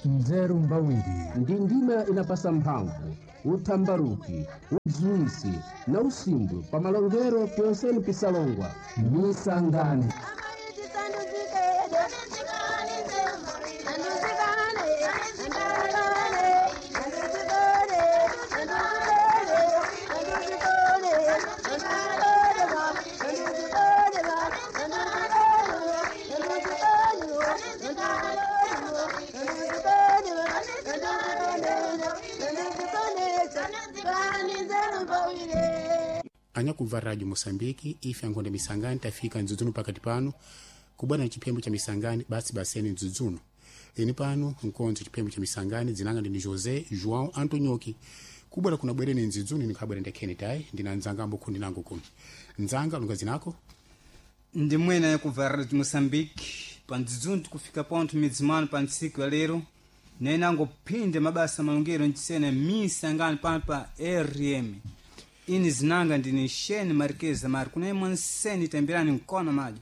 Nzeru mbawiri. Ndi ndima inapasa mphamvu, uthambaruki, udziwisi na usimbwe pa malongero pyonseni pisalongwa. Misangani. Anyakubva radio Moçambique, ife angonde misangani tafika mdzudzuno pakati pano kubwana na chiphembo cha misangani basi baseni mdzudzuno. Eni pano nkonzo chiphembo cha misangani dzinanga ndini José João Antonioki. Kubwera kuna bwereni mdzudzuno nikhabwera ndekheni tayi ndina nzanga ambo khundi nango kuno. Nzanga lunga zinako. Ndi mwene yakubva radio Moçambique pandzidzuno tikufika pontho midzimano pa ntsiku ya lero nenangophinde mabasa malongero ncisena misangani pano pa rm. Ini zinanga ndini Shane Marquez Mari kunaimwe nseni tembelani mkono maji.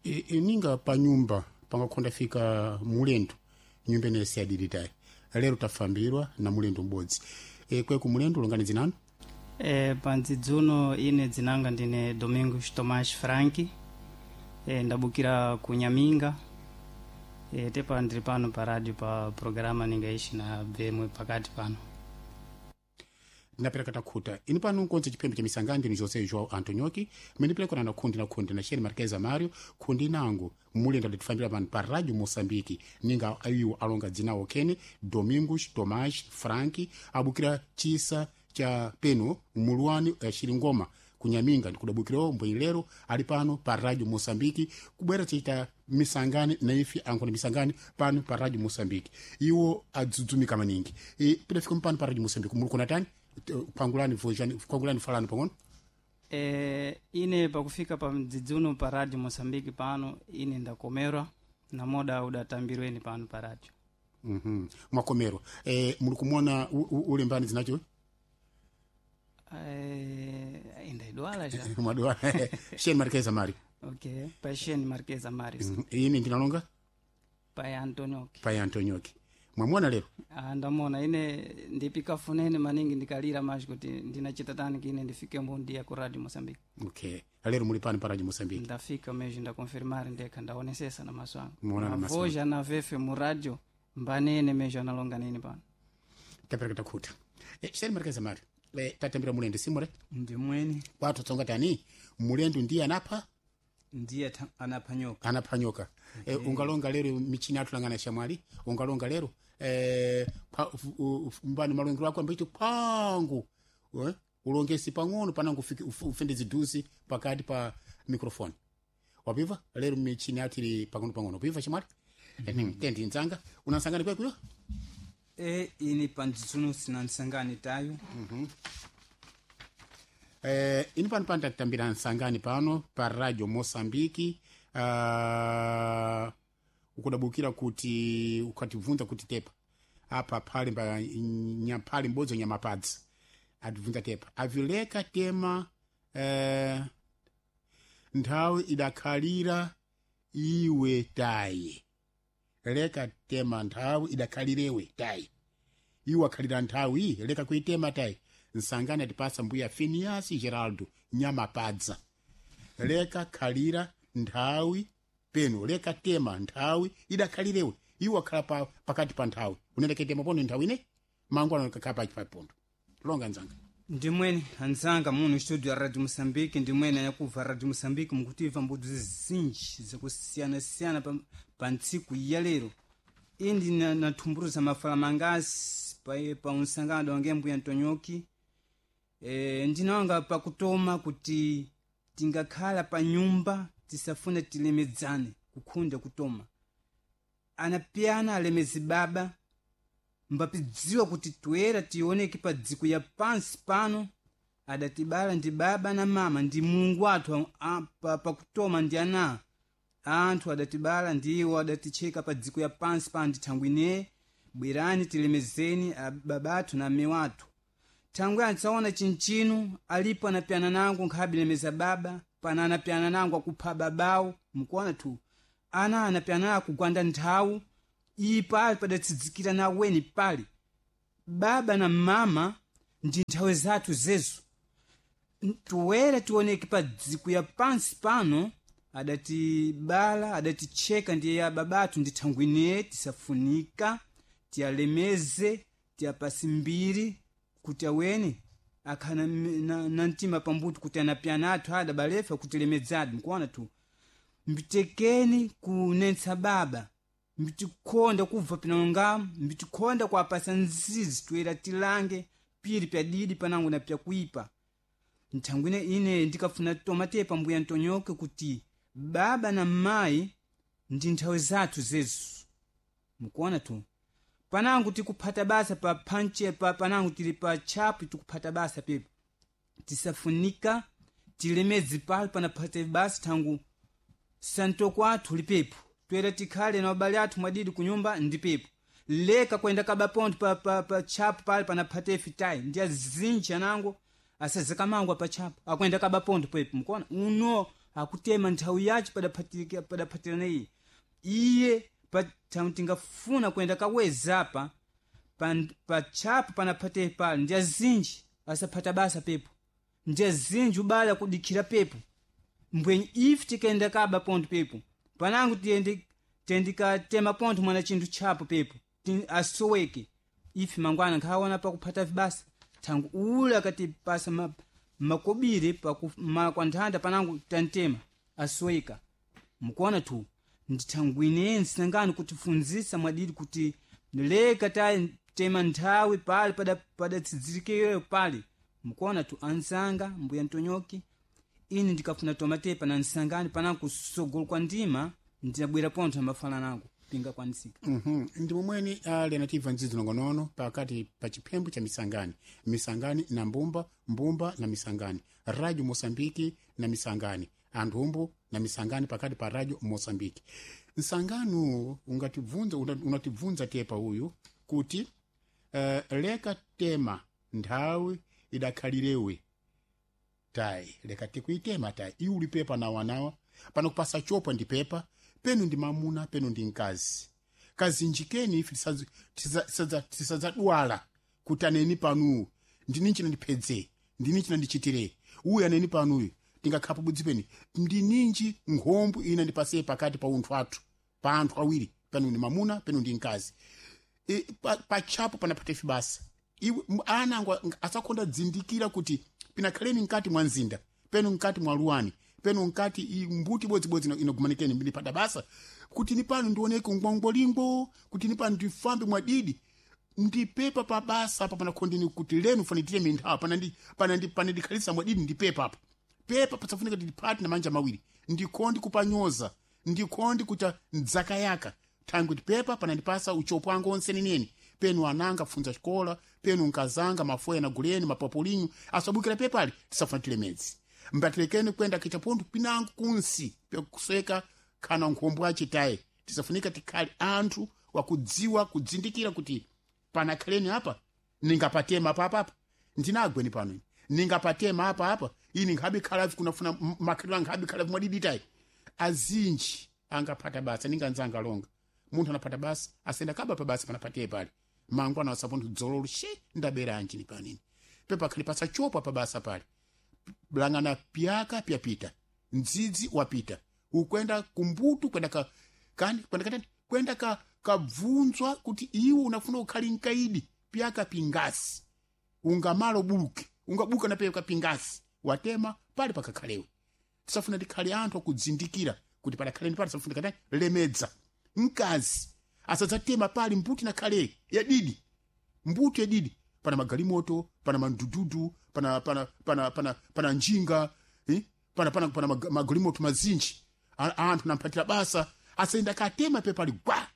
Ininga pa nyumba pangakhonda fika mulendo nyumba ine siyadilitayi lero tafambirwa na mulendo m'bodzi. Kweku mulendo longani dzinanu. Pandzidzuno ine dzinanga ndine Domingos Tomás Franki. Ndabukira ku Nyaminga. Tepa ndiri pano pa radio pa programa ningaishi na bvemwe pakati pano. Ndinapereka takhuta ini pano nkonzo chiphembe cha misangani ndini José João Antonioki mendipelekana na khundi na khundi na Shane Marquez Mario khundi nango mulendo atifambira pano pa radio Moçambique ninga ayiwo alonga dzinawo kene Domingos Tomás Franki abukira chisa cha peno muluwani Xilingoma kunyaminga ndikudabukirawo mbwelero ali pano pa radio Moçambique kubwera chita misangani na ife ankona misangani pano pa radio Moçambique iwo adzudzumika maningi. Pidafika mpano pa radio Moçambique muli kuna tani pangulani vojani pangulani falani pang'ono. Ine pakufika pa mdzidzuno pa radio Moçambique pano ine ndakomerwa na moda udatambirweni pano pa radio. Mwakomerwa. Muli kumwona ulembani zinacho. Indaidwala ja. Mwadwala. Shane Marquez Mari. Okay, pa Shane Marquez Mari. Ine ndinalonga pa Antonioki. Pa Antonioki. Mwamwona lero? Ndamona ine ndipika funene maningi ndikalira maji kuti ndinachita tani kine ndifike mbundiya ku radio Moçambique. Okay. Lero muli pano pa radio Moçambique. Ndafika meji ndakonfirmar ndekha ndaonesesa na maso angu. Muona na maso. Voja na vefe mu radio mbanene meji analonga nini pano. Tapereka takhuta. Shane Marquez Mari. Tatambira mulendo simure. Ndi mwene. Kwathu tsonga tani mulendo ndiye anapha ndiye anaphanyoka. Anaphanyoka. Ungalonga lero michini atulangana shamwali ungalonga lero mbani malongero ako ambaiti pangu ulongesi pang'ono panango ufende zidusi pakati pa microphone wapiva lero michini athu ili pang'ono pang'ono wapiva shamwali. Tendi nzanga unansangani kwekuyo. Ini pandzidzuno sinansangani tayo. Ini pano pano tatambira nsangani pano pa radio Moçambique. Ukudabukira kuti ukatibvunza kuti tepa apa phali mba nyaphali m'bodzi nyamapadzi atibvunza tepa avileka tema nthawi idakhalira iwe tayi leka tema nthawi idakhalirewe tayi iwe akhalira nthawi leka kuitema tayi. Nsangani atipasa mbuya Phineas Geraldo nyamapadza leka khalira nthawi peno leka tema nthawi idakhalirewe iwe akhala pakati pa nthawi unendeke tema pono nthawi ine mangu anakakhala pachi papondo longa nzanga. Ndi mwene anzanga muno studio ya radio Moçambique ndi mwene yakubva radio Moçambique mukutiva mbudzi zinji zakusiyana-siyana pa ntsiku ya lero. Indi nathumburuza mafala mangasi pa unsangano wange mbuya Antonioki. Ndinawanga pakutoma kuti tingakhala pa nyumba tisafune tilemedzane kukhunda kutoma. Anapiyana alemezi baba mbapidziwa kuti toera tioneke pa dziko ya pansi pano adatibala ndi baba na mama ndi Mulungu athu pakutoma ndi ana anthu adatibala ndiwo adaticheka pa dziko ya pansi pano ndi thangwi ine bwerani tilemezeni babathu na mme wathu. Thangwi antsaona chinchinu alipo anapyana nangu nkhabe lemeza baba pana anapyana nangu akupha babawo mukuona tu ana anapyana akugwanda nthawu. Iyi pali padatsidzikira naweni pali baba na mama ndi nthawi zathu zezo tuwere tioneke pa dziko ya pansi pano. Adatibala, adaticheka ndiye ya babathu, ndi thangwine tisafunika tiyalemeze, tiyapasi mbiri kuti aweni akhana na mtima pambuto kuti anapyana athu adabalefa kutilemedzadi. Mkuona tu mbitekeni kunensa baba, mbitikhonda kubva pinalongamo, mbitikhonda kuapasa nzizi toyera tilange piri pyadidi panango na pyakuipa. Nthangwine ine ndikafuna tomatepa mbuya ntonyoke kuti baba na mayi ndi nthawi zathu zezo. Mukuona tu panango tikuphata basa pa panche pa panango tili pa tchapu tikuphata basa pepo, tisafunika tilemedzi pali panaphate basa thangu santoko athu lipepo toyera tikhale na abale athu mwadidi kunyumba ndipepo leka kwenda kaba pontho pa tchapu pali panaphate fitayi ndi azinji anango asazakamangwa pa tchapu akwenda kaba pontho pepo. Mukuona uno akutema nthawi yace padaphatirana iye iye pa tingafuna kwenda kaweza apa pa tchapu panaphate pali ndi azinji asaphata basa pepo, ndi azinji ubala kudikhira pepo mbwenyi ife tikenda kaba pontho pepo panango tiyendikatema pontho mwana chinthu tchapo pepo asoweke ife mangwana nkhaona pakuphata vibasa thangu ule akatipasa makobiri kwa nthanda panango tantema asoweka. Mukuona tu ndithangwine nsangani kutifunzisa mwadidi kuti leka tema nthawi pali padatsidzirikireyo pali. Mukuona tu anzanga mbuya ntonyoki, ine ndikafuna tomatepa na nsangani panango kusogolo kwa ndima ndinabwera pontho amafana nango pinga kwanisika. Ndi momweni ali anativa nzizi nongonono pakati pa chiphembo cha misangani, misangani na mbumba, mbumba na misangani, radio Mosambiki na misangani, anthumbu na misangani pakati pa radio Mosambiki. Nsangano ungatibvunza unatibvunza tepa uyu kuti leka tema nthawi idakhalirewe tayi, leka tikuitema tayi iuli pepa nawanawa pano kupasa chopwa ndi pepa penu ndi mamuna penu ndi mkazi kazinjikeni ife tisadzadwala kuti aneni panuwu ndini chinandiphedze, ndini chinandichitire uyu aneni panuyu tingakhapo budzi peni ndininji nkhombo ina ndipase pakati pa unthu athu pa anthu awiri penu ndi mamuna penu ndi mkazi. Patchapo panaphata ife basa iwe ana angu asakhonda dzindikira kuti pinakhaleni mkati mwa mzinda penu mkati mwa luwani penu nkati mbuti bodzibodzi inogumanikeni ndipata basa kuti ni pano ndioneke ngwangwalingo kuti ni pano ndifambe mwadidi ndipepa pa basa apa panakhondini kuti lenu fanitire minthawa panandikhalisa mwadidi ndipepa apa pepa pasafunika kuti na manja mawiri ndikhondi kupanyoza ndikhondi kuta ndzakayaka thangwi kuti pepa panandipasa uchopo wangu onse nenene penu ananga funza xikola penu nkazanga mafoya na guleni mapapulinyu asabukira pepali tisafuna tilemedzi mbatilekeni kwenda kichapontho pinango kunsi pekusweka kana nkhombo achitaye tisafunika tikhale anthu wakudziwa kudzindikira kuti panakhaleni apa ningapatema papapa ndinagweni pano ningapatema apa apa ini nkhabe khalavi kunafuna makhalidwe ankhabe khalavi mwadiditayi azinji angaphata basa ninganzanga longa munthu anaphata basa asenda kaba pa basa panapatiye pali mangwana asapontho dzololo she ndabera anjini panini pepa khali pasachopa pa basa pali langana pyaka pyapita ndzidzi wapita ukwenda kumbutu kwenda ka kani kwenda katani kwenda ka kabvunzwa kuti iwe unafuna ukhali nkaidi pyaka pingasi ungamalo buluke ungabuka na pyaka pingasi watema pali pakakhalewe tisafuna tikhale anthu akudzindikira kuti padakhaleni pali tisafuna katani lemedza mkazi asadzatema pali mbuti nakhale yadidi mbuti yadidi pana magalimoto pana mandududu pana pana pana pana pana njinga eh? pana pana pana magalimoto mazinji anthu namphatira basa asayenda katema pepali gwa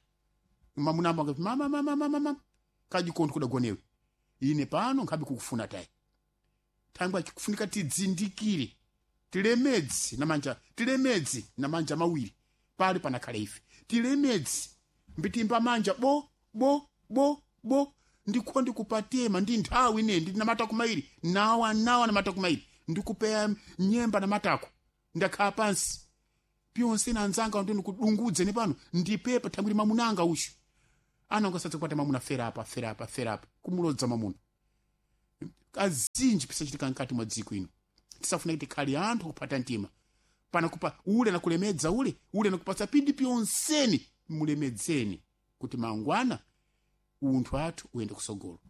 mamunamba ngati mama mama mama mama kajikontho kudagonewe ine pano nkhabe kukufuna tayi thangwi achikufunika tidzindikire tilemedzi namanja tilemedzi namanja mawiri pali panakhale ife tilemedzi mbitimba manja bo bo bo bo ndikho ndikupatema ndi nthawi ine ndi namatako mairi nawa nawa namatako mairi ndikupeya nyemba namatako ndakhala pansi pyonse na anzanga ndi ndikudungudze ne pano ndipepa thangwi mamunanga ushu. Anango sadzakwata mamuna fera apa fera apa fera apa kumulodza mamuna. Kazinji pisachitika mkati mwa dziko ino. Tisafuna kuti khali anthu kupata mtima. Pana kupa ule nakulemedza ule, ule nakupatsa pindi pyonseni mulemedzeni kuti mangwana unthu athu uyende kusogolo.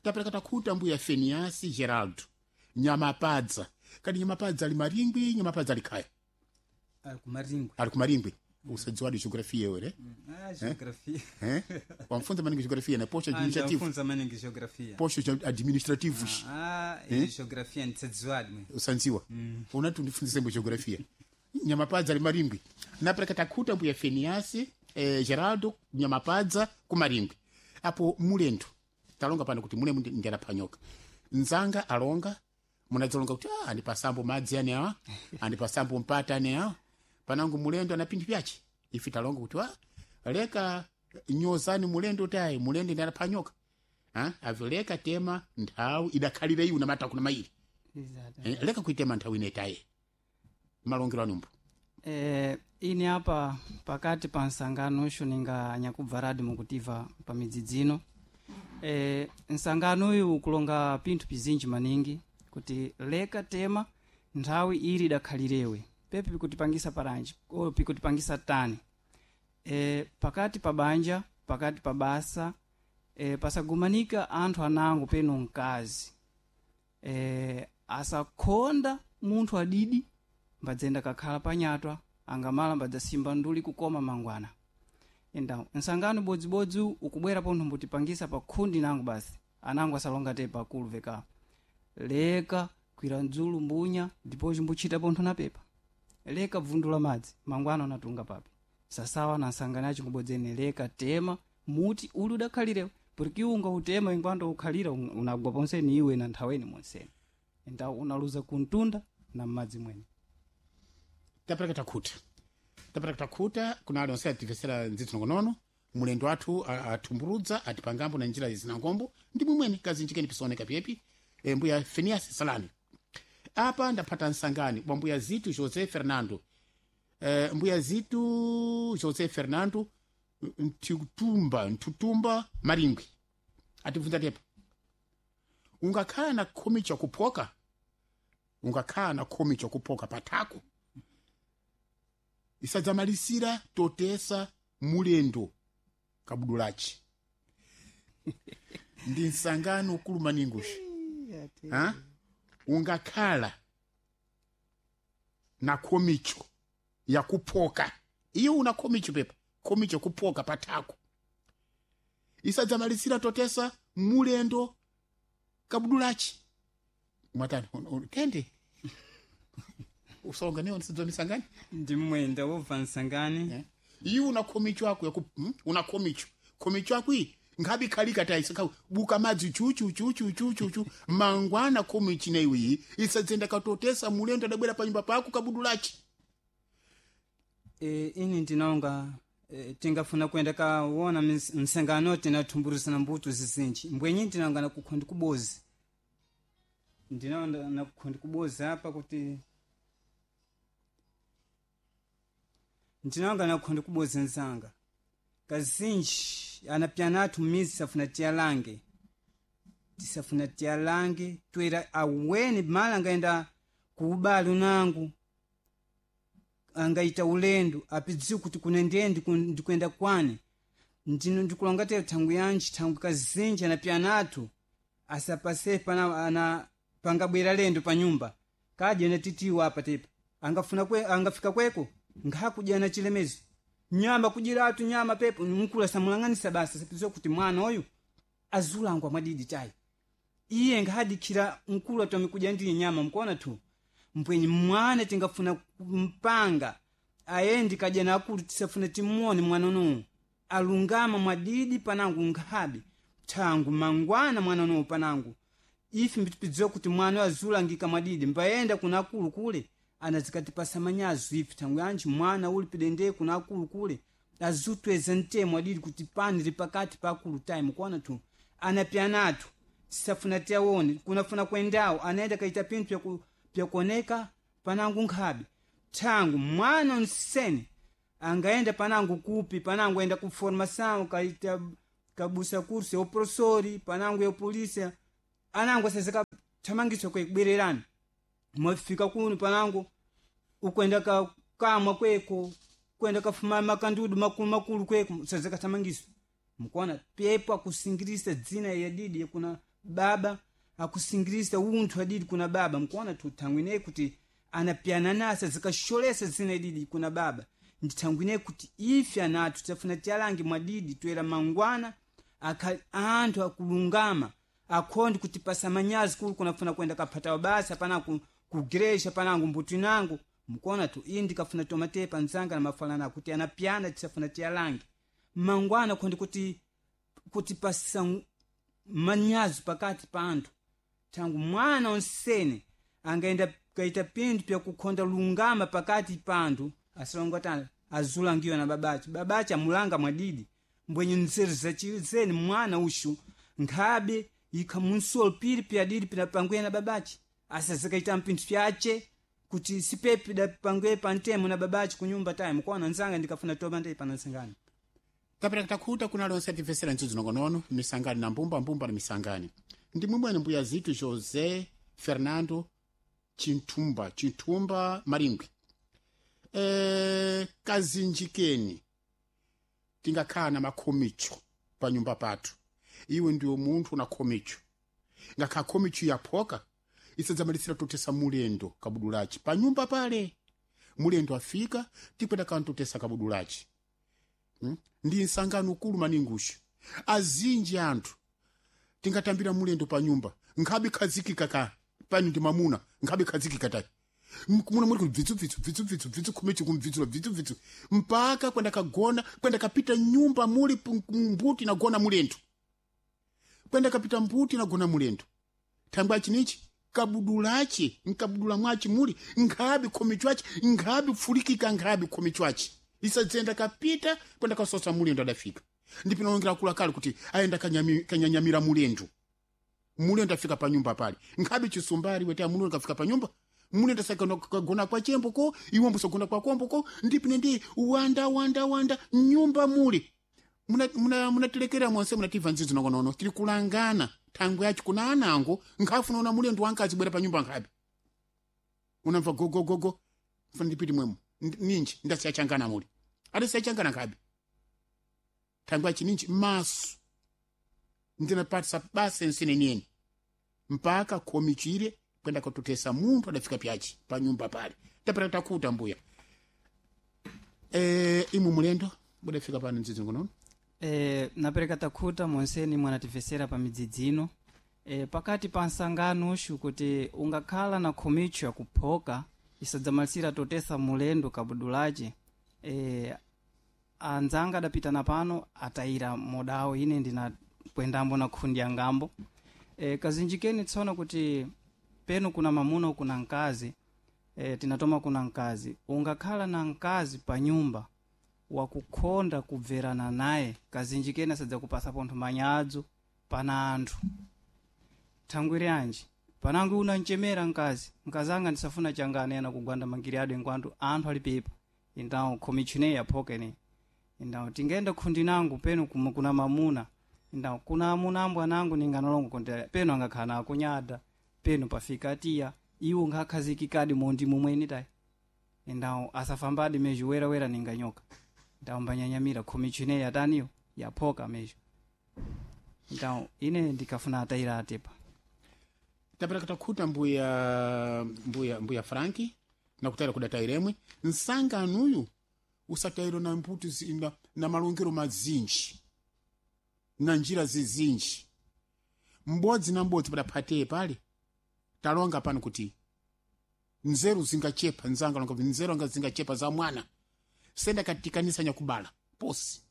Tapereka takhuta mbuya Feniasi Geraldo. Nyamapadza. Kadi nyamapadza ali maringwi, nyamapadza ali khaya. Ali kumaringwe. Ali kumaringwi. Usadziwadi geografia iwe, Ah, geografia. eh? Wamfunza maningi geografia na posho administrative. Ndafunza maningi geografia. Posho administrativos. Ah, eh? Geografia nditsadziwadi mwe. Usanziwa. Unati undifunzise mbo geografia. Nyamapadza ali maringwi. Napereka takhuta mbuya Feniasi Geraldo Nyamapadza kumaringwi. Apo mulendo. Talonga pano kuti mule ndiyanapanyoka. Nzanga alonga munadzalonga kuti ah, andipasambo madzi ane awa, andipasambo mpata ane awa. Panango mulendo ana pinthu pyace. Ife talonga kuti ah, leka nyozani mulendo tayi, mulendo ndi anapanyoka. Ah, avileka tema nthawi idakhalire iwu namata kuna maili. Exato. Leka kuitema nthawi ine tayi. Malongero anumbo. Ini apa pakati pa nsangano usho ninga nyakubva radi mukutiva pa midzidzino. Nsangano uyu ukulonga pinthu pizinji maningi kuti leka tema nthawi ili idakhalirewe pepe pikutipangisa paranji o pikutipangisa tani. Pakati pa banja, pakati pa basa, pasagumanika anthu anango peno mkazi. Asakhonda munthu adidi mbadzenda kakhala panyatwa angamala mbadzasimba nduli kukoma mangwana. Então nsangano bodzibodzi ukubwera pontho mbutipangisa pa khundi nango basi anango asalonga te pakulu veka leka kwira mdzulu mbunya ndipo chimbuchita pontho na pepa leka bvundula madzi mangwana unatunga papi sasawa na nsangano yacho ngubodzene leka tema muti uli udakhalirewo porque unga utema ingwando ukhalira unagwa ponseni iwe na nthaweni monseni. Então unaluza kuntunda na m'madzi mwene. Tapereka takhuta. Tapereka takhuta kuna ali onse ativesera ndzithu nongonono. Mulendo athu atumburudza atipangambo na njira zinangombo ndi mwimweni kazinjikeni pisaoneka pyepi. Mbuya Phineas Salani. Apa ndaphata nsangani bwa mbuya Zitu José Fernando. Mbuya Zitu José Fernando Ntutumba Maringwi. Atibvunza tepa. Ungakhala na khomi chakuphoka. Ungakhala na khomi chakuphoka patako. Isadzamalisira totesa mulendo kabudulachi. Ndi nsangano kulumaningushi. Ha? Ungakhala na khomicho yakuphoka. Iyo una khomicho pepa. Khomicho kuphoka patako. Isadzamalisira totesa mulendo kabudulachi. Mwatani, tende. Usonga niyo nsidzo misangani? Ndimwenda wobva nsangani. Iwe una khomicho ako yaku una khomicho. Khomicho ako iyi nkhabe ikhalika tayi sakha buka madzi chu chu chu chu chu chu chu mangwana khomichi na iwe iyi isadzenda katotesa mulendo adabwera pa nyumba pako kabudulachi. Ini ndinaonga tingafuna kuenda kaona msangano tinathumburisana mbuto zizinji mbwenyi ndinaonga na kukhondi kubozi. Ndinaonga na kukhondi kubozi apa kuti ndinaonga na kukhondi kubozi nzanga. Kazinji anapyana athu mizi safuna tiyalange. Tisafuna tiyalange twera aweni mala angaenda kuubali unangu. Angaita ulendo apidziwe kuti kune ndiye ndikuenda kwani. Ndino ndikulonga tero thangwi yanji thangwi kazinji anapyana athu asapase pana ana pangabwera lendo pa nyumba. Kadya na titiwa apa tepa. Angafuna kwe, angafika kweko nkhakudya na chilemezo. Nyama kudyera atu nyama pepo mkulu asamulang'anisa basi asapidziwe kuti mwana uyu azulangwa mwadidi tayi. Iye nkhadikhira mkulu atome kudya ndiye nyama mkuona tu. Mbwenyi mwana tingafuna kumpanga ayendi kadya na akulu tisafuna timuone mwana unowu. Alungama mwadidi panangu nkhabe thangu mangwana mwana unowu panangu. Ife mbitipidziwa kuti mwana azulangika mwadidi mbayenda kuna akulu kule anazikatipasa manyazo ife thangu yanji mwana uli pidende kuna akulu kule azutweza ntemo adidi kuti pani li pakati pa akulu time kuona tu anapyana athu tisafuna tiawone kunafuna kuendawo anaenda kaita pinthu pyakuoneka panangu nkhabe thangu mwana onsene Angaenda panangu kupi, panangu enda ku formação, kaita kabusa kurso ya professori, panangu ya polícia. Anangu asazeka thamangiso kwekubwererani. Mwafika kuno panangu ukwenda ka kamwa kweko, kwenda kafuma makandudu makulu makulu kweko, sazeka thamangiso. Mkuona pepo akusingirisa dzina ya didi kuna baba, akusingirisa unthu adidi kuna baba. Mkuona tuthangwine kuti anapyana nasa zikasholesa dzina ididi kuna baba. Ndithangwine kuti ife anathu tafuna tialange mwadidi toera mangwana akha anthu akulungama akhondi kuti pasamanyazi kulu kunafuna kwenda kaphata basa pana ku kugresha panangu mbuti nangu. Mkuona tu iyi ndikafuna tomatepa nzanga na mafalana kuti anapyana tisafuna tialange mangwana khondi kuti pasa manyazi pakati pa anthu. Thangu mwana onsene angaenda kaita pinthu pyakukhonda lungama pakati pa anthu asalongo tana azulangiwa na babache. Babache amulanga mwadidi mbwenye nzeru zachizeni mwana ushu nkhabe ikha munsolo pili pyadidi pinapangwe na babache asazikaita mpinthu pyache kuti sipepi dapangwe pantemo na babache kunyumba tayi. Mkuona nzanga ndikafuna toba ndei panansangani. Kapera takhuta kuna lonse atimvesera ntsudzu nongonono misangani na mbumba mbumba na misangani. Ndi mwimwene mbuya zitu José Fernando Chintumba, Chintumba Maringwi. Kazinjikeni tingakhala na makhomicho pa nyumba pathu. Iwe ndiwe munthu una khomicho. Ngakhala khomicho yaphoka isadzamalisira totesa mulendo kabudulachi pa nyumba pale. Mulendo afika tikwenda kantotesa kabudulachi. Ndi nsangano ukulu maningusha. Azinji anthu tingatambira mulendo pa nyumba nkhabe khazikika ka pano ndi mamuna nkhabe khazikika tayi. Muna muri kubvitsu bvitsu bvitsu bvitsu bvitsu khomichi kumvitsula bvitsu bvitsu mpaka kwenda kagona kwenda kapita nyumba muli mbuti nagona mulendo. Kwenda kapita mbuti nagona mulendo. Thangwa chinichi kabudulachi nkabudula mwachi muli nkhabe khomichi wachi nkhabe pfulikika nkhabe khomichi wachi. Isadzenda kapita kwenda kasosa mulendo adafika. Ndipinongera kula kale kuti aenda kanyanyamira mulendo. Mulendo afika pa nyumba pale. Nkhabe chisumbari wete mulendo kafika pa nyumba. Mulendo sakagona kwa chembo ko, iwe mbusagona kwa kombo ko, ndipine ndi wanda wanda wanda nyumba muli. Munatelekera mwanse munativa nzidzo nongonono tiri kulangana thangwe yacho kuna anango nkhafuna una mulendo wankazi bwera pa nyumba nkhabe. Unamva gogo gogo funa ndipiti mwemo ninji ndasiyachangana muli. Adasiyachangana nkhabe. Thangwe yachi ninji maso ndinapatisa basa nsene niyeni mpaka khomichire kwenda kutotesa munthu adafika pyachi pa nyumba pale. Tapera takuta mbuya. Imu mulendo budafika pano nzidzo ngonono. Napereka takhuta monseni mwanatifesera pa midzidzi ino. Pakati pa nsangano ushu kuti ungakhala na khomicho yakuphoka isadzamalisira totesa mulendo kabudulache. Anzanga adapitana pano atayira modawo ine ndinakwendambo na khundi yangambo. Kazinjikeni tsono kuti peno kuna mamuna kuna mkazi. Tinatoma kuna mkazi. Ungakhala na mkazi pa nyumba wakukhonda kubverana naye kazinjikeni asadzakupasa pontho manyadzo pana anthu. Thangwire anji panangu unanchemera mkazi, mkazi anga ndisafuna changane ana kugwanda mangiri adu engwandu anthu alipepa. Indawo khomichine yaphoka ine. Indawo tingenda khundi nangu peno kuna mamuna. Indawo kuna amuna ambo anangu ninganolongo kontera peno angakhala nakunyada peno pafika atiya iwo ngakhazikikadi mondi mumweni tayi. Indawo asafambadi meju werawera ninganyoka. Indawo mbanyanyamira khomichine yataniyo yaphoka meju. Indawo ine ndikafuna atayira atepa. Tapera takhuta mbuya Franki nakutayira kudatayiremwe nsanganuyu usatayiro na mbuti na malongero mazinji na njira zizinji mbodzi na mbodzi padaphateye pale talonga pano kuti nzeru zingachepa nzanga longa kuti nzeru anga zingachepa za mwana senda katikanisa nyakubala posi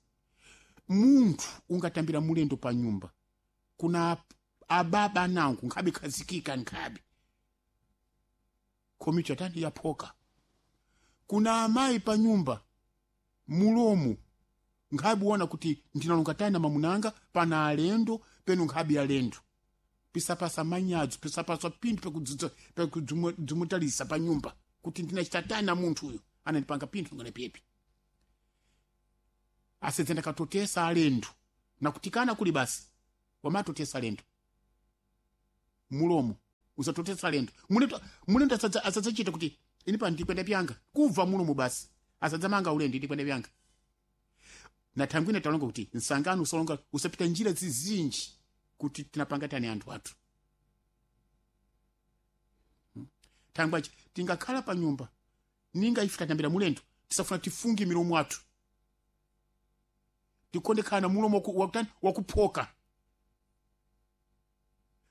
munthu ungatambira mulendo pa nyumba kuna ababa nangu nkhabe khazikika nkhabe khomicho tani yaphoka kuna amayi pa nyumba mulomo nkhabe uona kuti ndinalonga tani na mamunanga pana alendo peno nkhabe alendo pisapasa manyadzo pisapasa pinthu pekudzumutalisa pa nyumba kuti ndinachita tani na munthu uyu anandipanga pinthu ngane pepi. Asedzenda katotesa alendo nakutikana kuli basi wamatotesa alendo mulomo usatotesa alendo mulendo mulendo asadzachita kuti ini pano ndikwenda pyanga kubva mulomo basi asadzamanga ulendo ndikwenda pyanga na thangwine talonga kuti nsangano usalonga usapita njira zizinji kuti tinapanga tani anthu athu. Thangwachi tingakhala pa nyumba ninga ife tatambira mulendo tisafuna tifunge milomo athu tikonde na mulomo wakutani wakuphoka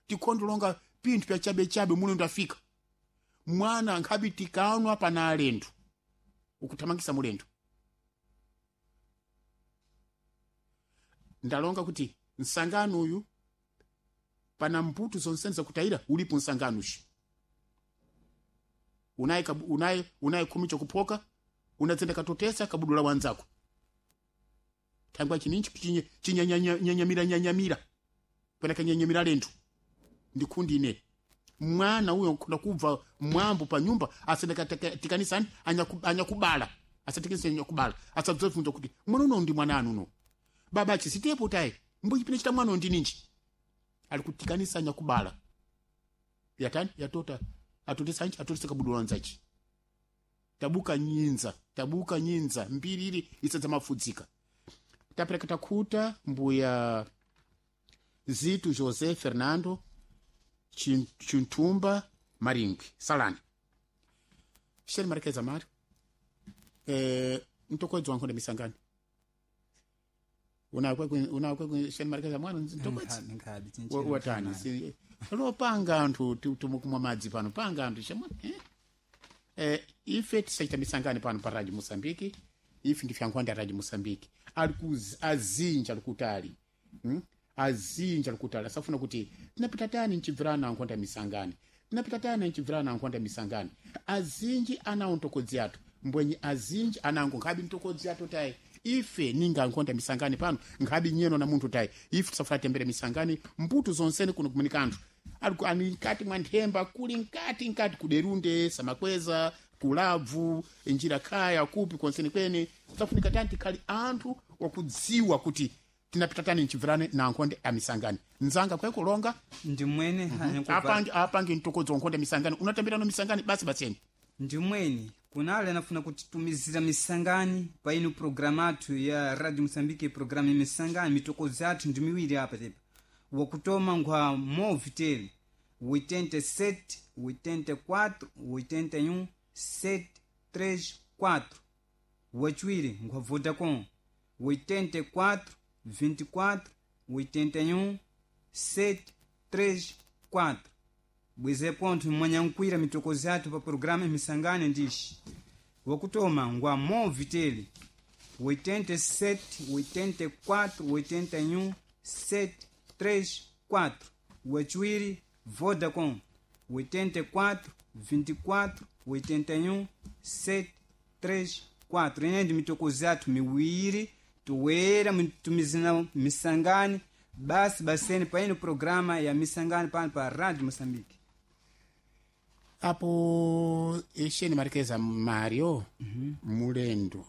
tikonde longa pinthu pya chabechabe mulendo afika mwana nkhabi tikanwa pana alendo ukuthamangisa mulendo. Ndalonga kuti nsangano uyu pana mputu zonsene zakutayira ulipo nsangano ushi unaye unaye khumi chokuphoka unadzenda katotesa kabudula wanzako thangwa chininchi chinyanyamira nyanyamira pena kanyanyamira lenthu ndikhundi ine mwana uyo nkhunda kubva mwambo pa nyumba asendekatikanisani anyakubala asatikanisa anyakubala asadzobvunza kuti mwana uno ndi mwana anu uno baba achisitepo tayi mbuchipine chita mwana ndi ninji ali kutikanisa anyakubala yatani yatota atotesa nchi atotesa kabudula wanzachi tabuka nyinza mbiri ili isadza mafudzika. Tapereka takhuta mbuya Zito José Fernando Chintumba Maringwi Salani Sheri Marquez Amari mtokodzi wankhonda misangani unakwe Sheri Marquez Amari mtokodzi watani lopanga anthu tumukumwa madzi pano panga anthu chamwe ife tisachita misangani pano pa Radio Mosambiki ife ndife ankhonda ya Radio Mosambiki ali azinja alikutali azinja alikutali asafuna kuti tinapita tani nchibvirana ankhonda misangani tinapita tani nchibvirana ankhonda misangani azinji anawo ntokodzi athu mbwenye azinji anango nkhabi ntokodzi athu tayi ife ninga ankhonda misangani pano nkhabi nyeno na munthu tayi ife tisafuna tembere misangani mputu zonsene kuno kumanika anthu ali nkati mwa nthemba kuli nkati kuderunde samakweza kulabvu njira khaya kupi konseni kwene tisafunika tani tikhali anthu wakudziwa kuti tinapita tani nchibvirane na ankhonde amisangani nzanga kwekulonga ndimwene apange mtokodzo wankhonde amisangani unatambirano misangani basi baseni ndimwene kunale anafuna kutitumizira misangani pa ino programu athu ya Radio Mosambike programu ya misangani mitokodzo athu ndi miwiri apa tepa wakutoma nkhwa Movitel 87 84 81 734 wachiwiri nkhwa Vodacom 84 24 81 734 bweze pontho mwanyankwira mitokozi athu pa programa misangani ndixi wakutoma ngwa Movitel 87 84 81 734 wachiwiri Vodacom 84 24 81 734 ine ndi mitokozi athu miwiri tuwera tumizina misangani basi baseni paino programa ya misangani pano pa Radio Mosambike apo ixeni marikeza Mario mulendo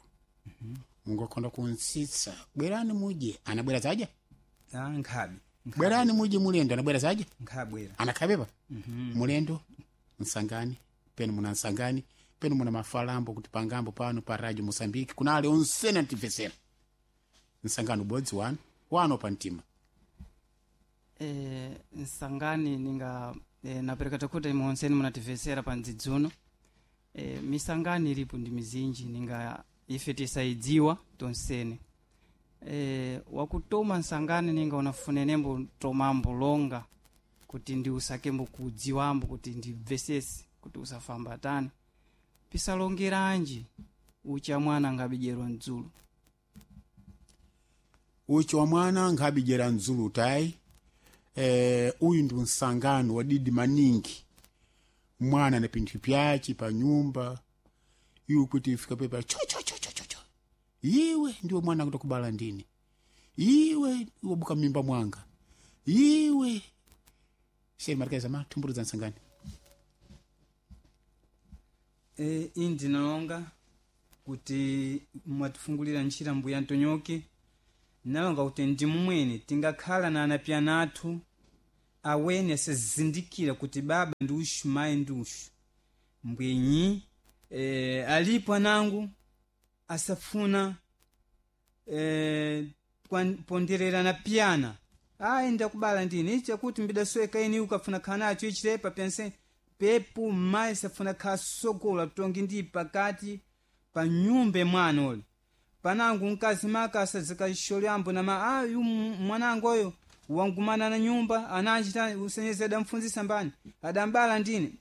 mungokhonda kuntsitsa bwerani mudye anabwera zadya nkhabi bwerani mudye mulendo anabwera zadya nkhabwera anakhapepa mulendo nsangani penu muna nsangani penu muna mafalambo kuti pangambo pano pa Radio Mosambike kunale onsene antimvesera nsangano ubodzi wanu wano pa mtima nsangani ninga napereka takuti imonseni munatimvesera pa ndzidzuno misangani ilipo ndi mizinji ninga ife tisayidziwa tonsene wakutoma nsangani ninga unafunenembo tomambo longa kuti ndi usakembo kudziwambo kuti ndibvesese kuti usafamba tani pisalongeranji ucha mwana angabidyerwa mdzulu uchi wa mwana nkhabidyera mdzulu tayi uyu ndi msangano wadidi maningi mwana na pinthu pyaci pa nyumba iwe kuti ifika pepa cho cho cho cho cho cho iwe ndiwe mwana akuti kubala ndine iwe wabuka mimba mwanga iwe sheri marikaiza ma thumburu za nsangani indi ndinalonga kuti mwatifungulira ntchira mbuya Antonioki Nalonga kuti ndi mumwene tingakhala na anapyana athu awene asazindikira kuti baba ndi ushu, mayi ndi ushu. Mbwenyi alipo anangu asafuna ponderera na piyana, ayi ndakubala ndine ichi chakuti mbidasweka ini ukafuna khala nacho ichilepa pyanse pepu. Mayi safuna khala sogola tongi ndi pakati pa nyumba mwana uli panangu mkazi maka asadzikasholyambo nama ayu mwanangu oyo wangumana na nyumba anachita usenyeza adamfunzisa mbani adambala ndine.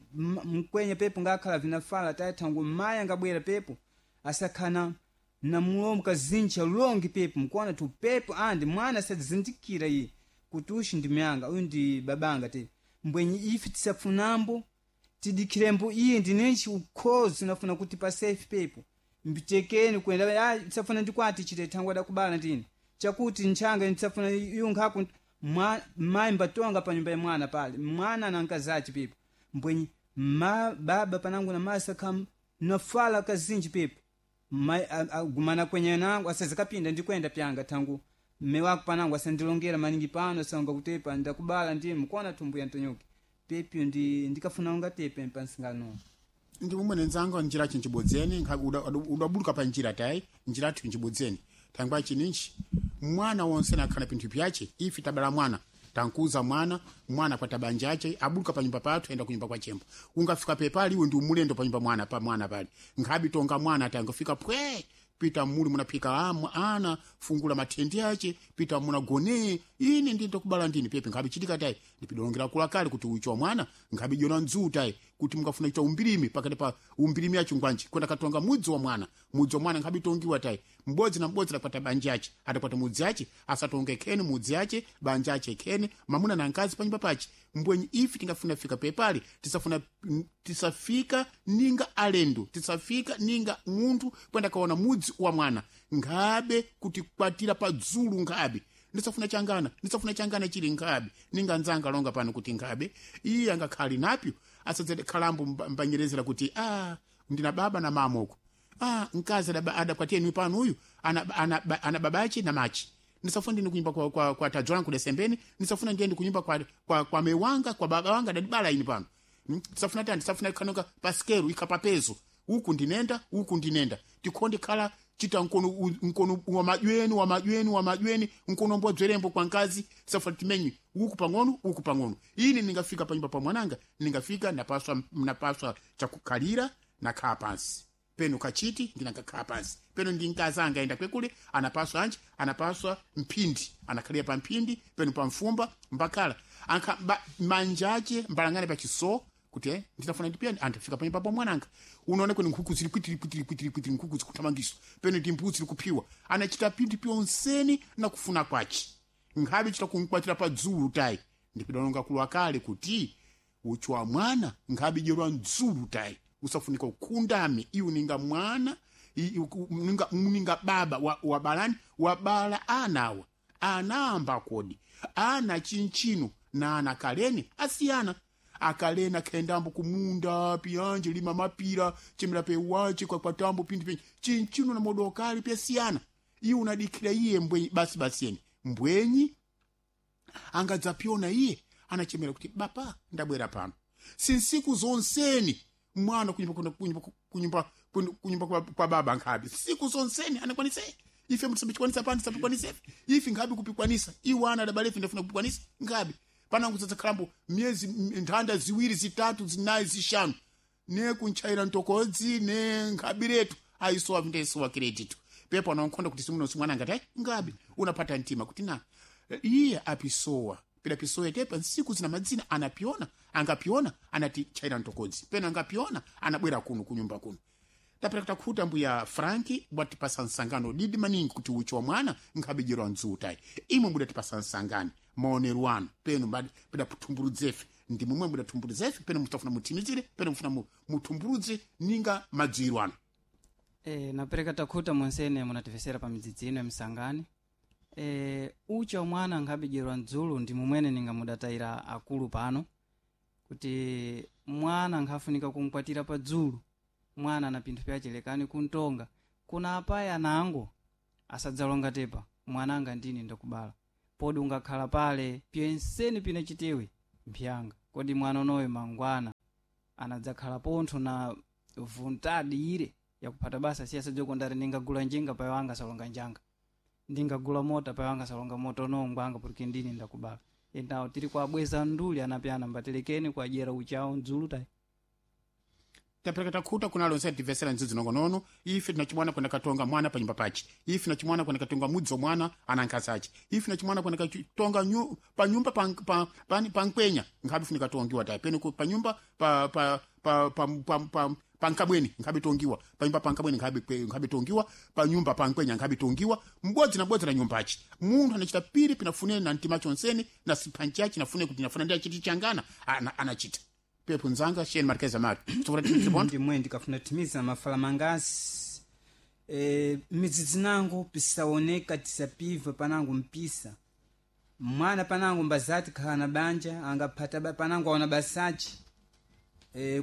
Mkwenye pepu ngakhala vinafala taithangu mayi angabwera pepu asakhana na mulomo kazinja longi pepu mkuona tu pepu andi mwana asadzindikira iye kuti ushi ndi myanga, uyu ndi babanga te. Mbwenyi ife tisafunambo tidikhirembo iye ndinenchi ukhozi unafuna kuti pasefi pepu mbitekeni kwenda tisafuna ndikwati chite thangwe adakubala ndine chakuti nchanga ndisafuna yunkhaku mayi mbatonga pa nyumba ya mwana pale mwana na mkazi pepu. Mbwenyi ma baba panangu na masa kam nafala kazinji pepu mai agumana kwenye nangu asazikapinda ndikwenda pyanga thangu mme wako panangu asandilongera maningi pano sanga kutepa ndakubala ndiye mkuona tumbu ya ntonyoki pepyo ndi ndikafuna ungatepe pansingano. Ndi mumwe nenzanga njira chinchibodzeni udabuluka pa njira tayi njira athu nchibodzeni thangwa chininchi mwana wonse nakhala pinthu pyache. Ife tabala mwana, tankuza mwana, mwana kwa tabanja ache abuluka pa nyumba pathu enda kunyumba kwa chembo. Ungafika pepali iwe ndi umulendo pa nyumba mwana pa mwana pali nkhabi tonga mwana tangofika pwe pita muli munaphika ana fungula mathendi ache pita munagone ine ndi ndokubala ndini pepe nkhabi chitika tayi ndipidolongera kula kale kuti uchi wa mwana nkhabi jona ndzuu tayi kuti mukafuna kuita umbirimi pakati pa umbirimi acho ngwanji kwenda katonga mudzi wa mwana, mudzi wa mwana nkhabi tongiwa tayi mbodzi na mbodzi adakwata banja ache adakwata mudzi ache asatonge khene mudzi ache banja ache khene mamuna na nkazi panyumba pache. Mbwenyi ife tingafuna fika pepali tisafuna tisafika ninga alendo, tisafika ninga munthu kwenda kaona mudzi wa mwana nkhabe kuti kwatira pa dzulu nkhabe ndisafuna changana, ndisafuna changana chili nkhabe ninga nzanga longa pano kuti nkhabe iye angakhali napyo asadzere khalambo mbanyerezera kuti ndina baba na mama uko mkazi adakwatiye niwe pano uyu ana babache na machi. Ndisafuna ndine kunyumba kwa tadzwangu kudesembeni, ndisafuna ndiyende kunyumba kwa mewanga kwa baba wanga adadibala ini pano. Tisafuna tani tisafuna kanoka pasikeru ikhapapezo uku ndinenda uku ndinenda tikhonde khala chita mkono mkono wa majweni wa majweni wa majweni mkono mbodzwerembo kwa nkazi tisafuna timenyi uku pang'ono uku pang'ono. Ine ningafika panyumba pa mwananga ningafika napaswa chakukhalira nakhala pansi peno kachiti ndinangakhala pansi peno ndi mkazi anga ayenda kwekule anapaswa anji anapaswa mphindi anakhalira pa mphindi peno pa mfumba mbakhala anka manja ache mbalangane pa chiso kuti ndinafuna ndipiyani anthu afika panyumba pa mwananga unaona kweni nkhuku zili kwitiri kwitiri kwitiri kwitiri nkhuku zikuthamangiswa peno ndi mbuzi zili kuphiwa anachita pinthu pyonseni na kufuna kwace nkhabe chita kumkwatira pa dzulu tayi ndipidalonga kulwa kale kuti uchi wa mwana nkhabe dyerwa mdzulu tayi usafunika ukhundame iwe ninga mwana ninga baba wabalani wabala anawa anamba kodi ana chinchino na ana kaleni asiyana akalena khendambo kumunda piyanje lima mapira chemera pewache kwakwatambo pindi penye chinchino na modokali pyasiyana iwe unadikhira iye mbwenyi basi basi yene mbwenyi angadzapyona iye anachemera kuti baba ndabwera pano sinsiku zonseni mwana kunyumba kwa baba nkhabe siku zonseni anakwanise ife mtisambikwanisa pano tisambikwanisa ife nkhabe kupikwanisa iwe ana adabale ife ndafuna kupikwanisa nkhabe panangu tsatsa miyezi nthanda ziwiri zitatu zinayi zishanu ne kuntchaira ntokodzi ne nkhabiretu ayisowa vindayisowa kireditu pepo anaonkhonda kuti simuno simwana ngati ayi ngabe unapata mtima kuti na iye apisowa pidapisowa tepa nsiku zina madzina anapiona angapiona anati tchaira ntokodzi pena angapiona anabwera kuno kunyumba kuno tapera takhuta mbuya Franki bwatipasa nsangano didi maningi kuti uchi wa mwana nkhabijerwa ndzutayi imwe mudatipasa nsangano maonero anu peno pidaputhumburudzefe ndi momwe mudathumburudzefe peno mutafuna muthimizire peno mufuna muthumburudze ninga madziro anu. Napereka takhuta monsene munatifesera pa midzidzi ino ya msangani. Uchi wa mwana nkhabijerwa mdzulu ndi momwene ninga mudatayira akulu pano kuti mwana nkhafunika kumkwatira pa dzulu mwana na pinthu pyachelekani kuntonga kuna apayi anango asadzalonga tepa. Mwananga ndine ndakubala. Podi ungakhala pale pyenseni pina chitiwi mphyanga. Kodi mwana unoyo mangwana anadzakhala pontho na vuntadi ire yakuphata basa siya sadzokondari ndingagula njinga payo anga salonga njanga, ndingagula mota payo anga salonga mota unowo ngwanga porque ndine ndakubala. Endawo tiri kuabweza nduli anapyana mbatelekeni kuadyera uchawo mdzulu tayi. Tapereka takhuta kunalo nse tivesera ndzidzi nongonono. Ife tinachimwana kwenda katonga mwana pa nyumba pache. Ife tinachimwana kwenda katonga mudzo mwana ana nkhasache. Ife tinachimwana kwenda katonga pa nyumba pa pa pa, pa nkwenya nkhabe funika tongiwa tayi pene pa nyumba pa pa pa pa pa, pa pa nkabweni nkhabe tongiwa pa nyumba pa nkabweni nkhabe tongiwa pa nyumba pa nkwenya nkhabe tongiwa mbodzi na bodzi na nyumbachi. Munthu anachita piri pinafunene na mtima chonsene na siphanchachi nafune kuti nafuna ndi achiti changana anachita pepo nzanga sheni markeza mari ndimwe ndikafuna timiza mafala mangasi midzidzi nangu pisaoneka tisapiva panangu mpisa mwana panangu mbazati khala na banja angaphata panangu aona basachi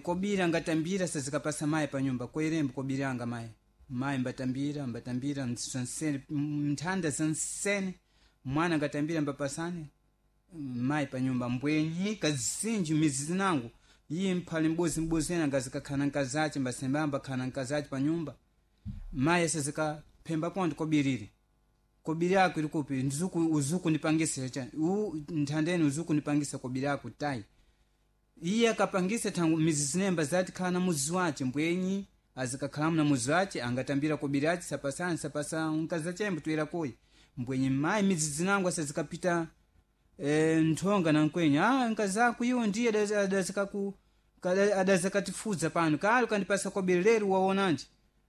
kobira angatambira sazikapasa mayi pa nyumba koerembo kobira anga mayi mayi mbatambira mbatambira mzansene nthanda zansene mwana angatambira mbapasane mayi pa nyumba mbwenyi kazinji midzidzi nangu iye mphale mbozi mbozi ena ngazikakhala nkazace mbasembamba khala nkazace pa nyumba mayi asazikaphemba ponto kobirire kobiri ako ili kupi nzuku uzuku nipangisa cha nthandeni uzuku nipangisa kobiri ako tayi. Iye akapangisa thangu mizizi nemba zati khala na muzi wace mbwenyi azikakhalamu na muzi wace angatambira kobiri ace sapasani sapasa nkazachembo tuyera koyi mbwenyi mayi mizizi nangu asazikapita nthonga na nkwenya nkazako iwo ndiye adazakatifudza pano kale ukandipasa kobiri lero waonanje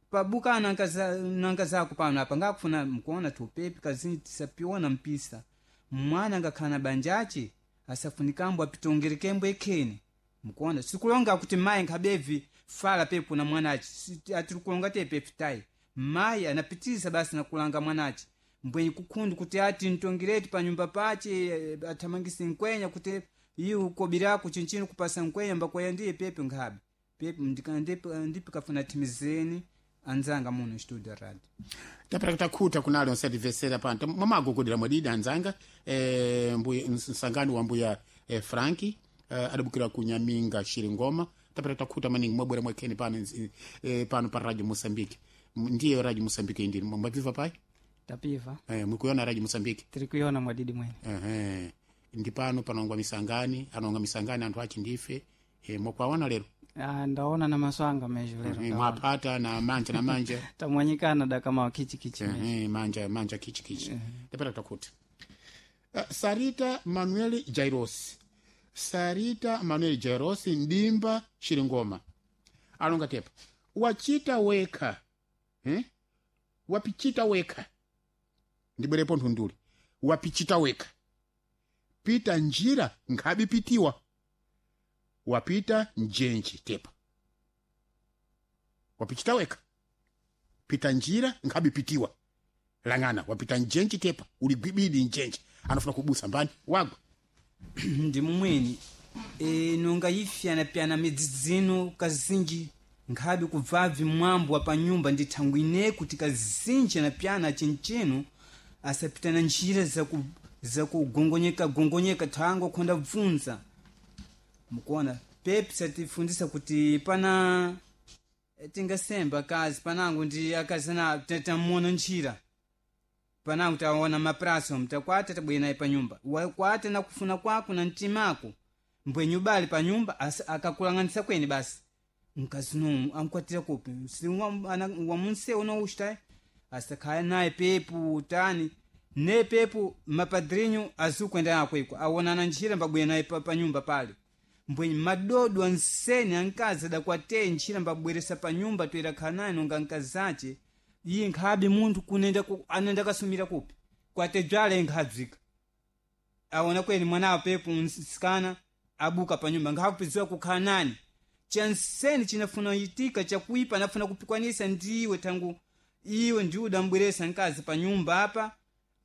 pabuka nankazako pano apa ngakufuna mkuona tupepi kazini tisapiona mpisa mwana angakhala na banjache asafunikambo apitongerekembo ekhene mkuona sikulonga kuti mayi nkhabevi fala pepo na mwanache atirikulonga tepepi tayi mayi anapitiriza basi nakulanga mwanache mbwenyi kukhundu kuti ati ntongireti pa nyumba pache athamangise nkwenya kuti iwo kobirako chinchino kupasa nkwenya mbakwaya ndiye pepe nkhabe pepe ndipi kafuna thimizeni anzanga muno studio radio. Tapera kutakhuta kunalo nsativesera pano mwamagogodera mwadidi anzanga mbuya msangano wa mbuya Franki adabukira kunyaminga Shiringoma. Tapera kutakhuta maningi mwabwera mwakheni pano pano pa Radio Mozambique. Ndiye Radio Mozambique indini mwapiva pai tapiva mwikuiona Radio Mozambique tiri kuiona mwadidi mwene. Ndi pano panongwa misangani anonga misangani anthu achi ndife mwakwaona lero. Ndaona na maso anga mejo lero mwapata na manja na manja tamwanyikana dakama kichikichi manja manja kichikichi. Tapera takuti Sarita Manuel Jairos, Sarita Manuel Jairos ndimba Shiringoma alonga tepa wachita wekha wapichita wekha ndibwerepo nthunduli wapichita wekha pita njira nkhabipitiwa wapita njenji tepa wapichita wekha pita njira nkhabipitiwa lang'ana wapita njenji tepa uli gwibidi njenji anafuna kubusa mbani wagwa ndi mumweni nonga ifyanapyana midzidzino kazinji nkhabe kubvavi mwambo wa panyumba ndi thangwi ine kuti kazinji anapyana chinchino asapitana njira zakugongonyeka gongonyeka thango khonda bvunza mukuona pepi satifundisa kuti pana tingasemba kazi panangu ndi akazana tamuona njira panangu taona mapraso mtakwata tabwera naye panyumba wakwata na kufuna kwako na mtimako mbwenye ubali panyumba akakulang'anisa kweni basi mkazi nomu amkwatira kupi si wamunse unoushitayi asakhale naye pepu tani ne pepu mapadrinho azukuenda nako iko aonana njira mbabwera naye panyumba pale mbwenye madodo ansene ankazi adakwateye njira mbabweresa panyumba toera khala naye nonga nkazi ace iye nkhabe munthu kunenda anenda kasumira kupi kwatedzwala nkhadzika aona kweni mwanawo pepu nsikana abuka panyumba nkhakupidziwa kukhala nani chansene chinafuna itika chakuipa anafuna kupikwanisa ndiwe tangu iwe ndiwe udambweresa nkazi panyumba apa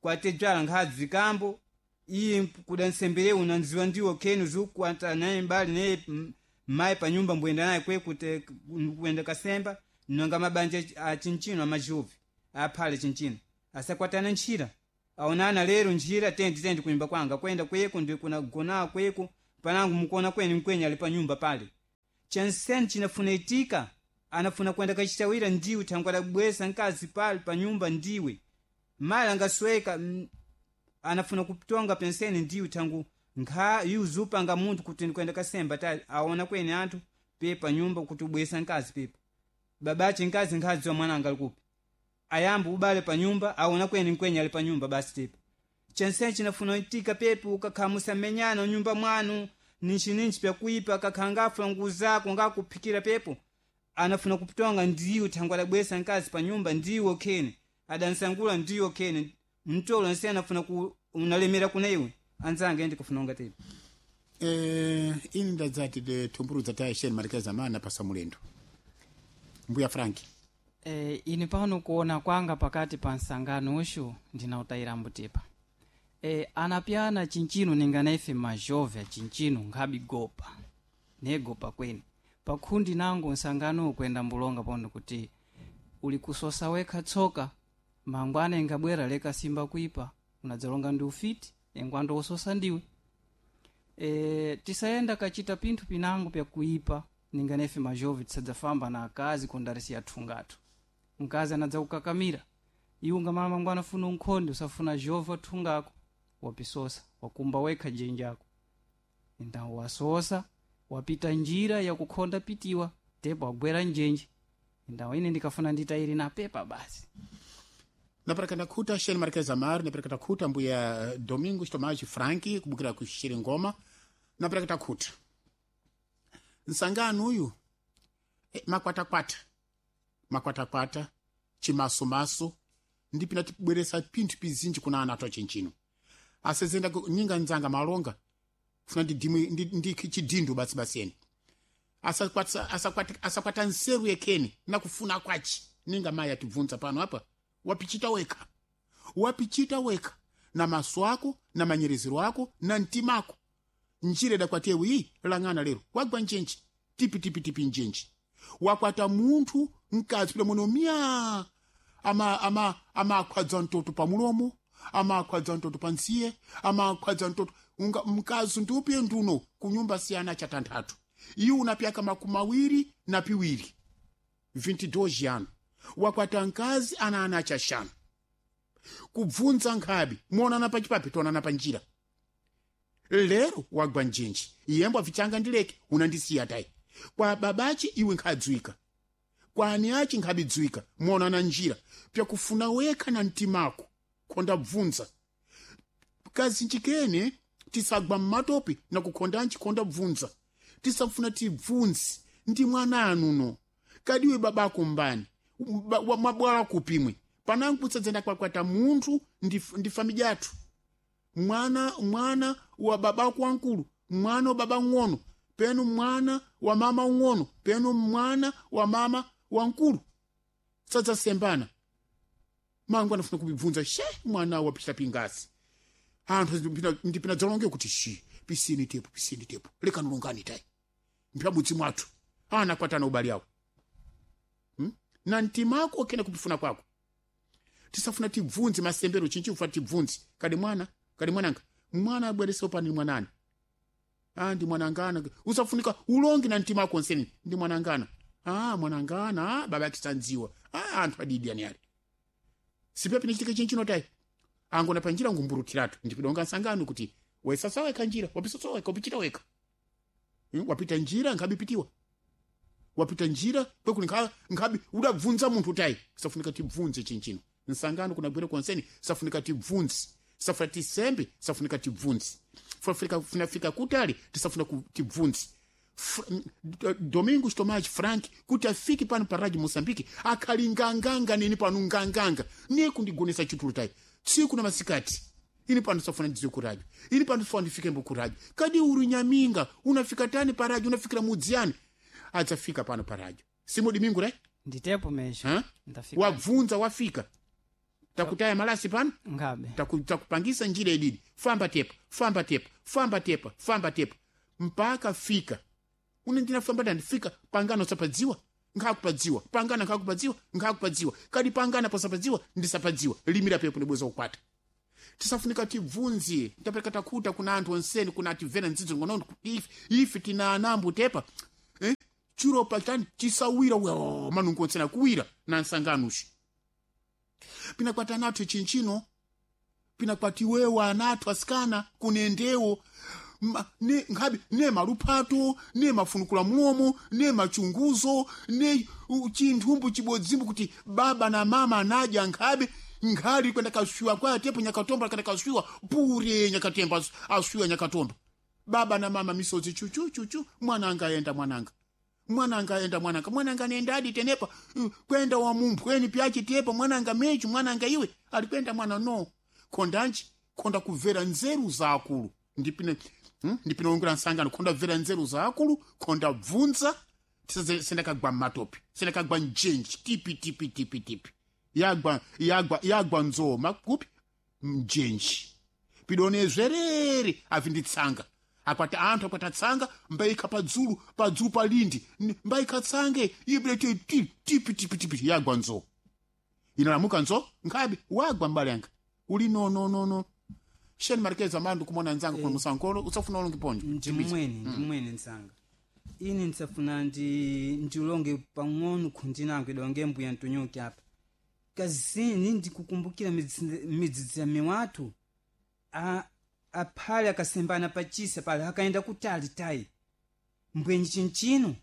kwatedzwala nkhadzikambo iye kudansembere unanziwa ndiwo kenu zukukwata naye mbali naye mayi panyumba mbuyenda naye kwe kute kuyenda kasemba nonga mabanja achinchino amajuvi aphale chinchino asakwatana ntchira. Aonana lero njira tendi tendi kunyumba kwanga kwenda kweko ndi kuna gona kweko panangu mukuona kweni mkwenye ali pa nyumba pale. Chanseni chinafuna itika anafuna kwenda kachitawira ndiwe thangwa labwesa nkazi pale pa nyumba ndiwe mali angasweka anafuna kutonga penseni ndiwe thangu nkha yuzupanga munthu kuti ndikwenda kasemba ta aona kweni anthu pepa nyumba kuti ubwesa nkazi pepa babache nkazi nkhazi wa mwananga alikupi ayambo ubale pa nyumba aona kweni nkwenye ali pa nyumba basi tepa chenseni chinafuna itika pepa ukakhala musamenyana nyumba mwanu ninchi ninchi pyakuipa kakhala ngafula nguvu zako ngakuphikira pepo anafuna kutonga ndiwe thangwa labwesa nkazi pa nyumba ndiwe khene adansangula ndiwe khene mtolo nse anafuna ku unalemera kuna iwe anzange ende kufuna unga tepa Ini ndadzati de thumbuludza ta sheni marikeza mana pasa mulendo mbuya Franki. Ine pano kuona kwanga pakati pa nsangano uxu ndinautayira mbutipa. Anapyana chinchino ningana ife majove chinchino nkhabi gopa negopa kweni pakhundi nango nsangano ukwenda mbulonga pono kuti uli kusosa wekha tsoka mangwana ingabwera leka simba kuipa unadzalonga ndi ufiti engwando wososa ndiwe. Tisayenda kachita pinthu pinango pyakuipa ninganefe majovi tisadzafamba na akazi kondarisiya thungatu mkazi anadza kukakamira iwe ngamala mangwana funa unkhonde usafuna jova athungako wapisosa wakumba wekha jenjako ndawo wasosa wapita njira yakukhonda pitiwa tepo wagwera njenje ndawo ine ndikafuna nditayiri na pepa basi. Napereka ndakhuta sheni marikeza mari napereka takhuta mbuya Domingo Tomaji Franki kubukira ku Ngoma napereka takhuta nsangano uyu makwatakwata makwatakwata chimasumasu ndipina tibweresa pinthu pizinji kuna ana athu achinchino asezenda nyinga nzanga malonga funa ndidimwe ndi chidindu basi basi eni asakwata nseru yekheni nakufuna kwachi ninga mayi atibvunza pano apa wapichita wekha wapichita wekha na maso ako na manyerezero ako na mtima ako njira idakwatiyewu iyi lang'ana lero wagwa njenji tipi tipi tipi njenji wakwata munthu mkazi pila muno miya amakhwadza mtoto pa mulomo amakhwadza mtoto pa ntsiye amakhwadza mtoto unga mkazi ndiupiye nduno kunyumba siyana cha tanthatu iye unapyaka makumi awiri na piwiri 22 ano wakwata mkazi ana ana achashanu kubvunza nkhabi muonana pachipapi tionana pa njira lero wagwa njenji iyembo avichanga ndileke unandisiya tayi kwa babachi iwe nkhadziwika kwa ani achi nkhabidziwika muonana njira pyakufuna wekha na mtimako khonda bvunza kazinji kene tisagwa mmatope na kukhondanji khonda bvunza tisafuna tibvunze ndi mwana anuno kadiwe babako mbani mabwala kupimwe panangu kutsadzenda kwakwata munthu ndi famidya athu mwana mwana wa babako wankulu mwana wa baba ng'ono penu mwana wa mama ung'ono penu mwana wa mama wankulu sadzasembana mangu anafuna kubibvunza she mwana wapita pingasi anthu ndipina dzalonge kuti shi pisini tepo pisini tepo lekanulungani tayi mpyabudzi mwathu ana kwatana ubali awo na mtima ako kena kupifuna kwako tisafuna tibvunze masembero chinchi kufa tibvunze kadi mwana kadi mwananga mwana abwerese pani mwanani ah ndi mwanangana usafunika ulonge na mtima wako nseni ndi mwanangana ah mwanangana ah baba akisanziwa ah anthu adidi ani ali sipepi nichitike chinchi notai angona panjira ngumburutiratu ndipidonga nsangano kuti wesasa weka njira wapisoso weka upichita weka wapita njira nkhabipitiwa wapita njira kwekuli nkhabi udabvunza munthu tayi safunika tibvunze chinchino nsangano kunagwera konseni safunika tibvunze safuna tisembe safunika tibvunze funafika kutali tisafuna tibvunze Domingos Tomás Frank kuti afike pano pa radio Moçambique akhali nganganga nini pano nganganga niye kundigonesa chitulo tayi tsiku na masikati ini pano safuna ndidziwe ku radio ini pano safuna ndifike mbo ku radio kadi uri nyaminga unafika tani pa radio unafikira mudziyani adzafika pano pa radio simo Domingo re nditepo mesho ha? ndafika wabvunza wafika takutaya malasi pano ngabe takupangisa njira ididi famba tepa famba tepa famba tepa famba tepa mpaka fika une ndinafamba ndandifika pangano sapadziwa nkhakupadziwa pangana nkhakupadziwa nkhakupadziwa kadi pangana posapadziwa ndisapadziwa limira pepo ndibweza kukwata Tisafunika tibvunze, tapereka takhuta kuna anthu onseni kuna ativera ndzidzo ngonono ife, ife tina anambo tepa eh? Chiropa chani chisawira wa manungo onsena kuwira na nsanganushi pinakwati anathu chinchino, pinakwati wewa anathu asikana kunendewo ne nkhabe ne maluphato ne mafunukula mulomo ne machunguzo ne chinthumbu chibodzimbu kuti baba na mama anadya nkhabe nkhali kwenda kaswiwa kwa tepo nyakatomba kana kaswiwa pure nyakatemba aswiwa nyakatomba baba na mama misozi chuchu chuchu mwananga ayenda mwananga mwananga ayenda mwananga mwananga nenda adi tenepa kwenda wa mumphweni pyachi tepa mwananga mechu mwananga iwe alikwenda mwana no khondanji khonda kubvera nzeru za akulu ndipine ndipine ongera nsangano khonda bvera nzeru za akulu khonda bvunza sendakagwa mmatope sendakagwa mjenji tipi tipi tipi tipi yagwa yagwa yagwa nzoma kupi mjenji pidone zverere avinditsanga akwati anthu akwati atsanga mbayikha padzulu padzulu palindi mbayikha tsange ibile tipi tipi tipi tipi yagwa nzo inalamuka nzo nkhabe wagwa mbale yanga uli no no no no sheni marikeza mandu kumona nzanga kuno musankolo usafuna ulonge ponjo Ndimwene ndimwene nzanga ine ndisafuna ndilonge pang'ono khundi nangu idonge mbuya ntonyoke apa kazini ndikukumbukira midzidzi ya miwathu aphale akasembana pachisa pale akaenda kutali tayi mbwenyi chinchino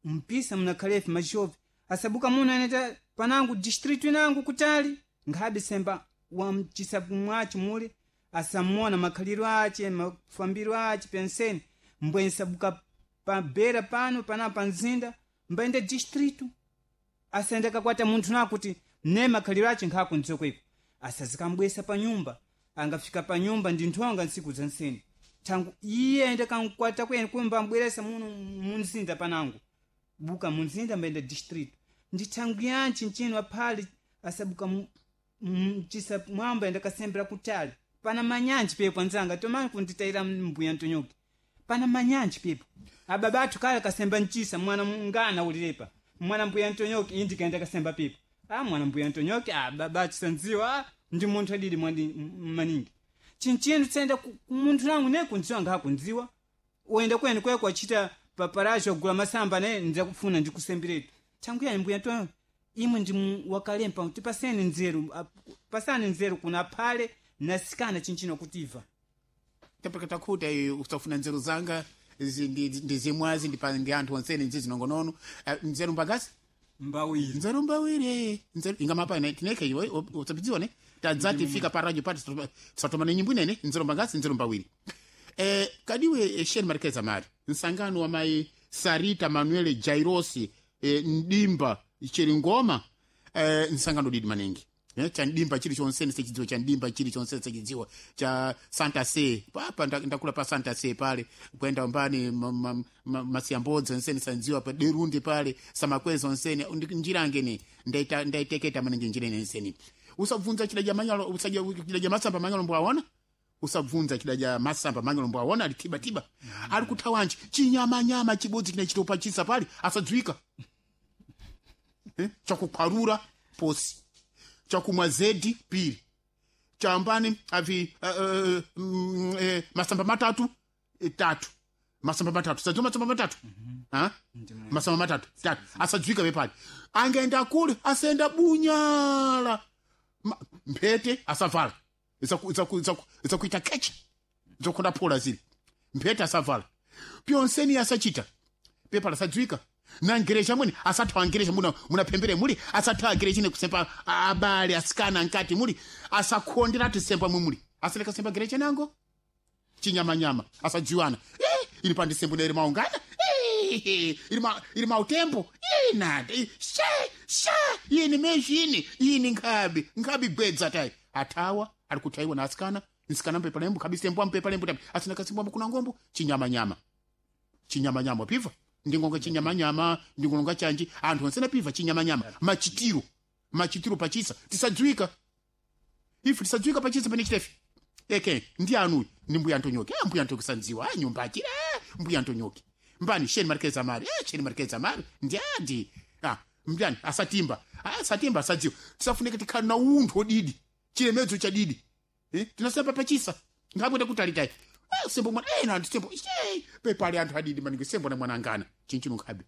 mpisa munakhalefe machovi asabuka muno aneta panangu distritu inangu kutali nkhabe semba wamchisa mwacho mule asamona makhaliro ache mafambiro ache penseni mbwenyi sabuka pabera pano pana panzinda mbaenda distritu asaenda kakwata munthu nakuti ne makhaliro ache nkhakunzeko iko asazikambwesa pa nyumba angafika pa nyumba ndi nthonga ntsiku za nseni thangu iye aenda kankwata kwene kumba ambweresa muno munzinda panangu buka munzinda mbaenda distritu ndi thangu yanchi nchino aphale asabuka mchisa mwamba enda kasembera kutali pana manyanji pepo anzanga tomani kunditayira mbuya ntonyoke pana manyanji pepo ababa athu kale kasemba mchisa mwana mungana ulilepa mwana mbuya ntonyoke indi kaenda kasemba pepo a mwana mbuya ntonyoke a baba athu sandziwa a ndi munthu adidi mwandi maningi chinchino tsenda munthu nangu ne kundziwa ngakundziwa uenda kwene kweko achita paparacho agula masamba ne ndzakufuna ndikusemberetu thangu yani mbuya ntonyoke imwe ndi wakalempa tipaseni nzeru pasani nzeru kuna aphale nasikana chinchino kutiva tapeka takhuta iyo usafuna nzeru zanga ndi zimwazi ndi anthu onsene nzi zinongonono nzeru mbangasi mbawiri nzeru mbawiri nzeru ingamapa ine tineke iwe usapidziwa ne tadzati fika pa radio pati tisatomane nyimbo inene nzeru mbangasi nzeru mbawiri kadiwe shen marikeza mari nsangano wa mai Sarita Manuel Jairosi Ndimba Chiringoma nsangano didi maningi cha ndimba chili chonse sechidziwa cha ndimba chili chonse sechidziwa cha Santa Se papa ndakula pa Santa Se pale kwenda mbani masiyambodzi onsene sandziwa pa Derundi pale Samakwezo onsene njirangene ndaiteketa maningi njira ine nsene usabvunza chidaja manyalo usaja chidaja masamba manyalo mbwaona usabvunza chidaja masamba manyalo mbwaona ali tiba tiba ali kuthawanji chinyamanyama chibodzi chine chitopa chisa pale asadziwika chakukhwarura posi chakumwa zedi pili chambani avi masamba matatu tatu masamba matatu sadziwa masamba matatu ha? Masamba matatu tatu asadziwika pepali angaenda kule asenda bunyala mphete asavala zakuita kecha zokonda phola zili mphete asavala pyonseni asachita pepala asadziwika na ngerecha mwene asathawa ngerecha munaphembere muli asathawa ngerecha ine kusempa abale asikana nkati muli asakhondera tisempa mwe muli asaleka sempa ngerecha nango chinyamanyama asadziwana ili pandisembo na ili maungana ili mautembo nada she she yini mezhini yini nkhabi nkhabi gwedza tayi athawa ali kuthaiwa na asikana nsikana mpepa lembo khabi sembo ampepa lembo tapi asina kasembo kuna ngombo chinyamanyama chinyamanyama piva ndingonga chinyamanyama ndingonga chanji anthu onsena piva chinyamanyama machitiro machitiro pachisa tisadziwika ife tisadziwika pachisa pene chitefe eke ndi anuyi ndi mbuya antonyoki mbuya antonyoki sandziwa nyumba achira mbuya antonyoki mbani sheni marikeza mari sheni marikeza mari ndi adi mbyani asatimba asatimba asadziwa tisafunike tikhale na unthu odidi chilemedzo cha didi. Tinasemba pachisa ngabwete kutalitayi. Sembo mwana ena anthu sembo pepali anthu adidi maningi sembo na mwana angana chinchino nkhabe.